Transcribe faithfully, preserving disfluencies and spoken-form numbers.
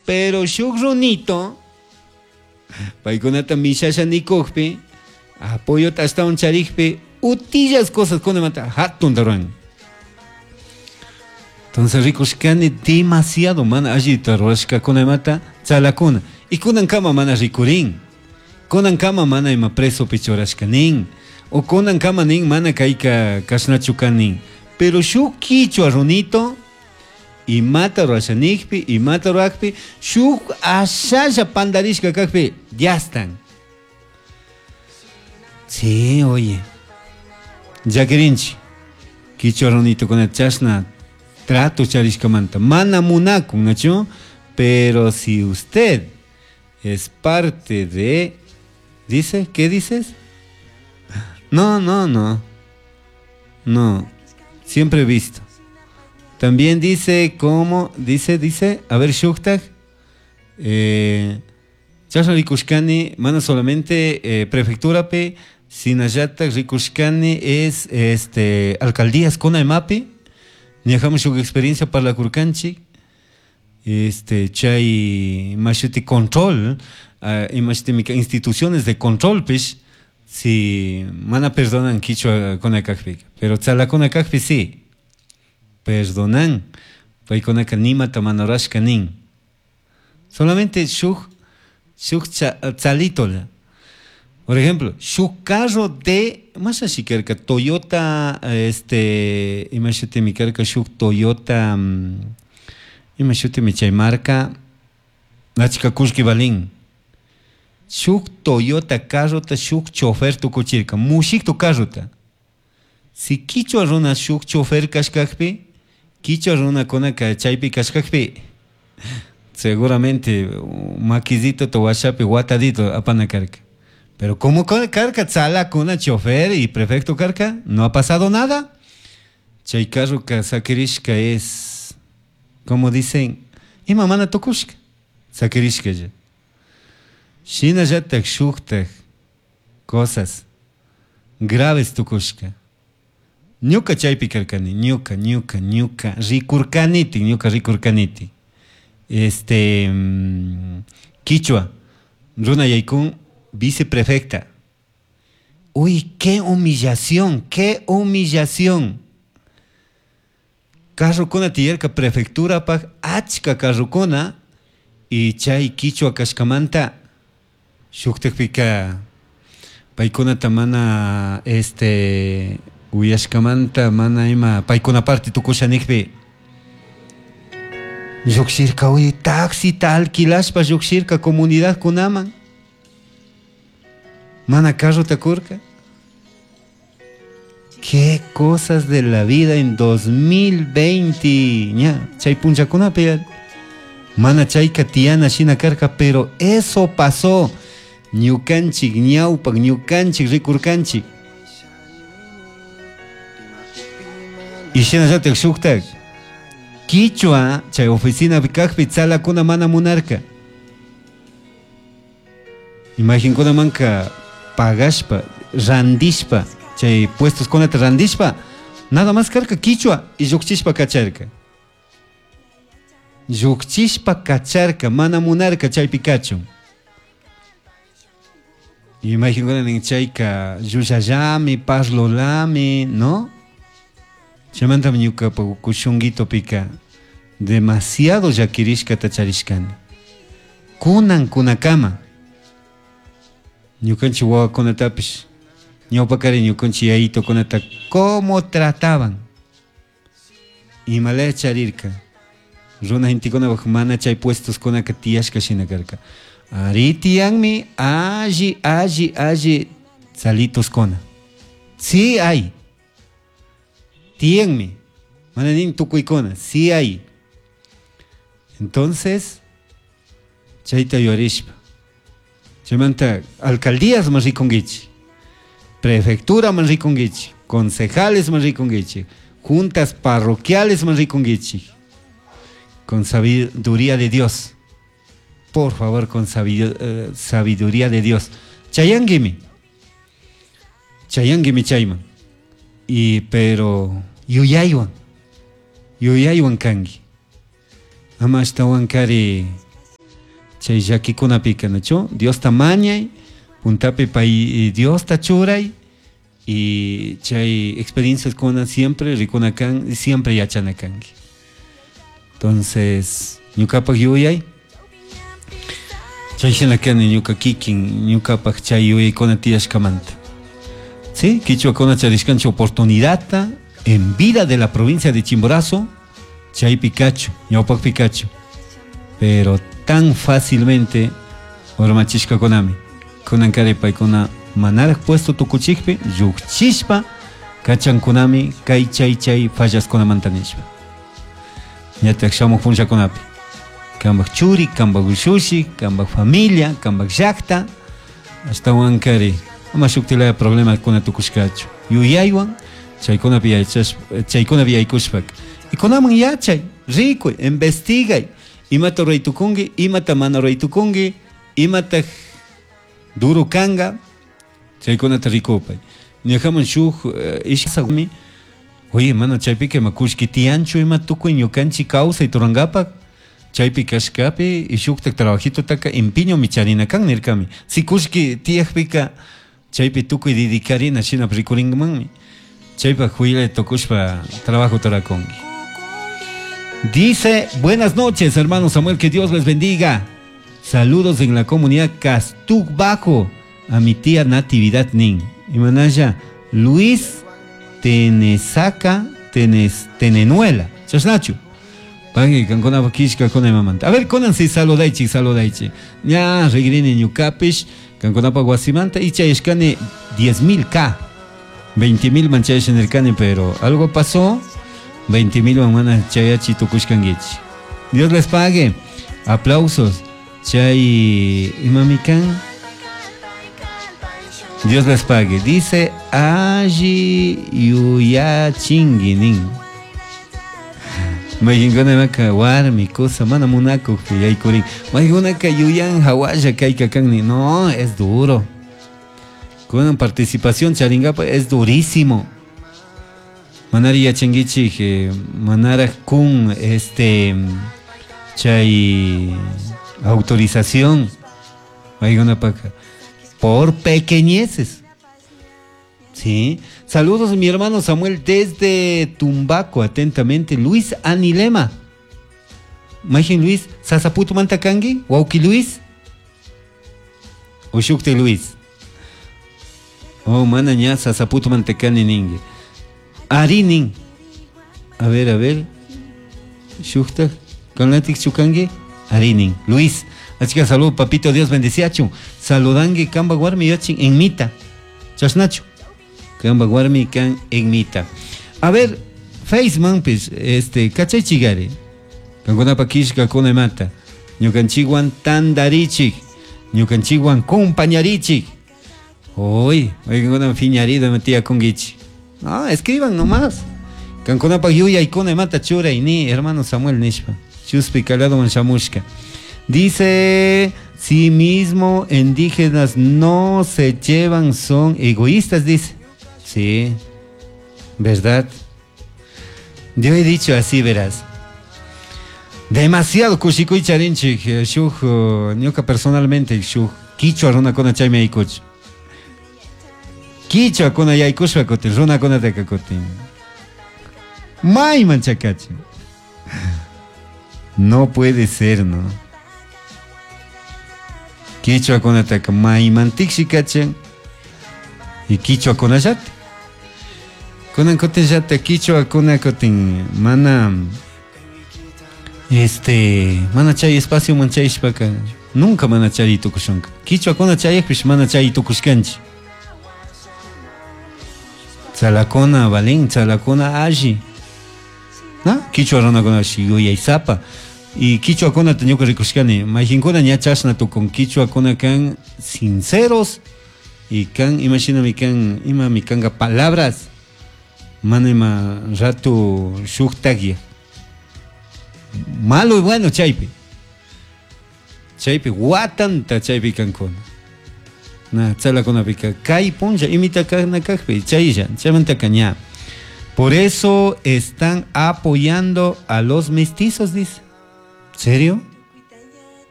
Pero shuk runito paykunata mishasha nikukpi apoyota ashtawan charikpi utillas cosas kunamanta hatunta ruran. Entonces rikushkani demasiado mana allita rurashkakunamanta tzalakuna. Y kunankama mana rikurin. Kunankama mana ima presopi churashka nin. O kunankama nin mana kayka kashnachu kan nin. Pero shuk kichwa runito imata rurasha nikpi, imata rurakpi, shuk ashalla pandarishka kakpi, ya están. Sí, oye. Llakirinchik, kichwa runitokuna chashna trato charishkamanta. Mana munakun, ¿nachu? Pero si usted es parte de... ¿Dice? ¿Qué dices? No, no, no. No. Siempre he visto. También dice cómo, dice, dice, a ver, shuktak, eh, chashna rikushkani, mana solamente eh, prefectura pe, shinallatak rikushkani es este, alcaldías kuna imapi, ñajamu shuk experiencia parlakurkanchik, este, chay mashuti control, uh, imashuti instituciones de control pish, si mana perdonan kichwa kuna kakpi, pero tzalakuna kakpi sí. Perdonan, paykunaka nimata mana rurashka nin. Solamente shuk, shuk tzalitola. Por ejemplo, shuk carro de, más así karka, Toyota, este, imashutimi karka shuk Toyota, um, imashutimi chay marca, achka kullki valin. Shuk Toyota carrota shuk chofer tukuchirka, mushiktu carrota. Si kichwa runa shuk chofer kashkakpi, kichwa runakunaka chaypi kashkakpi, seguramente makisito washapi watadito apana karka. Pero como karka tzalakuna chofer y prefecto karka, no ha pasado nada. Chay carro sakirishka es, como dicen, ima mana tukushka, sakirishka ya. Shinallatak shuktak cosas graves tukushka. Ñuka chaypi karkani, ñuka, ñuka, ñuka, rikurkaniti, ñuka rikurkaniti. Este, mmm, Kichwa, runa yaykun, viceprefecta. Uy, qué humillación, qué humillación. Carrokuna tiyarka prefectura pak achka carrokuna y chay kichwa kashkamanta shuktakpika paykunata mana este uyashkamanta mana ima paykuna parte tukusha nikpi llukshirka uy taxita alquilashpa llukshirka comunidad kunaman mana carrota kurka. Qué cosas de la vida en dos mil veinte ña chay punchakunapi mana chayka tiyana shina karka, pero eso pasó. Ñukanchik ñawpak ñukanchik rikurkanchik. Y shinallatak shuktak kichwa chay oficina kakpi tzalakuna mana munarka. Imaginkunamanka pagashpa randishpa chay puestos kunata randishpa nada más karka kichwa y llukchishpa kacharka. Llukchishpa kacharka mana munarka chaypi kachun. Imaginkuna nin chayka llullallami parlolami, ¿no? Chaymantami ñukapak kushunguitopika demasiado llakirishkata charishkani. Kunan kunakama ñukanchik wawakunatapish ñawpakari ñukanchik yayitokunata cómo trataban. Imalaya charirka runa gentekunapak mana chay puestoskunaka tiyashka shina karka. Ari tiyanmi alli alli alli tzalitoskuna. Sí hay. Tiyanmi. Mana nin tukuykuna. Sí hay. Entonces, chayta yuyarishpa. Chaymanta alcaldías man rikunkichik, prefectura man rikunkichik, concejales man rikunkichik, juntas parroquiales man rikunkichik. Con sabiduría de Dios. Por favor, con sabiduría de Dios. Chayanguimi. Chayanguimi chayman. Y pero yuyaywan. Yuyaywan kanki. Ama ashtawan kari Chay llakikunapika, nachu? Diosta mañay, puntapi pay Diosta churay y chay experiencias kuna siempre rikuna kan, siempre yachana kanki. Entonces, ñukapak yuyay, chay shina kani ñuka kikin, ñukapak chay yuyaykuna tiyashkamanta. Sí, kichwakuna charishkanchik oportunidadta en vida de la provincia de Chimborazo, chaypi kachu, ñawpakpi kachu. Pero tan fácilmente urmachishkakunami. Kunankari paykuna manaraj puesto tukuchikpi, llukchishpa kachankunami kay chay chay fallaskunamanta nishpa. Ñatak shamuj punllakunapi. Kampak churi, kampak ushushi, kampak familia, kampak llakta, ashtawankari ama shuktilaya problemakuna tukushkachu. Yuyaywan chaykunapi yachashpa, chaykunapi yaykushpaka. Y kunaman yachay, rikuy, investigay. Imata ruray tukunki, imata mana ruray tukunki, imata duro kanga, chaykunata rikupay. Ñukaman shuk ishkasami, oye, mana chaypika ima kullki tiyanchu ima tukuy ñukanchik kawsay turankapak, chaypi kashkapi y shuktak trabajitotaka empeñomi charina kan nirkami. Si kullki tiyakpika chaypi tukuy dedicarina shina rikurinmanmi. Chaypak huila tukushpa trabajo turakunki. Dice, buenas noches, hermano Samuel, que Dios les bendiga. Saludos en la comunidad Castuc Bajo, a mi tía Natividad Nin. Y manaya, Luis Tenesaca Tenes, Tenenuela. Chasnachu. Pagui, kankuna kishka kuna imamanta. A ver, kunan si saludaichi, saludaichi. Ña, rigrini ñukapish, kankunapa wasimanta, icha ishkani diez mil K. veinte mil manchayash nirkani, pero algo pasó. veinte mil mana chayachi tukushkanguichi. Dios les pague. Aplausos. Chay imamikan. Dios les pague. Dice alli yuyachingi nin. Mayinguna maka warmi cosa mana munaku yaykurin. Mayinguna yuyan hawaya kayka kanni. No, es duro. Con participación charingapa es durísimo. Manari yachanguichi, manara kun este chay autorización. Mayinguna paka. Por pequeñeces. Sí. Saludos mi hermano Samuel desde Tumbaco, atentamente. Luis Anilema. Majin Luis, Sasaputo Mantakangi, Wauki Luis. Oshukte Luis. Oh, mana ña Sasaputo Mantakani ningue. Arinin. A ver, a ver. Shukta, Kanlatik Chukangi, Arinin. Luis. Así que salud, papito, Dios bendeciachu. Saludangue kamba warmi yachin en mita. Chasnachu. Kamba warmi kan en mita. A ver, Faceman, pues, este, cachay chigare. Kankunapa kishka kuna mata. Ñukanchikwan tandarichik. Ñukanchikwan compañarichik. Uy, oigan, fiñarido metía con guichi. No, escriban nomás. Kankunapa yuyay kuna mata chura y ni, hermano Samuel Nishpa. Chuspi calado manchamushka. Dice, sí mismo indígenas no se llevan, son egoístas, dice. Sí, ¿verdad? Yo he dicho así, verás. Demasiado kushikuy charinchik, shuj, ñuka personalmente, shuj, kichwa runakuna chaymi aykuch. Kichwa kuna yaykushpa kutin, runakuna taka kutin. Mayman chakachin. No puede ser, ¿no? Kichwa kunataka mayman tikshikachin y kichwa kunallata. Kunan kutin llata kichwa kuna kutin mana este mana chay espacio man chayshpaka nunca mana chay tukushunka. Kichwa kuna chayakpish mana chay tukushkanchik. Tzalakuna valin, tzalakuna alli. ¿No? Kichwa runakuna yuyaysapa. Y kichwa kunata ñuka rikushkani, mayjinkuna ña chashna tukun, kichwa kuna kan sinceros y kan imagíname kan ima mi kanga palabras mana ima ratu shuktagia. Malo y bueno chaypi. Chaypi watanta chaypi kankuna. Na tzalakunapika kay punlla imita kana kajpi chaylla chaymanta kaña. Por eso están apoyando a los mestizos, dice. ¿Serio?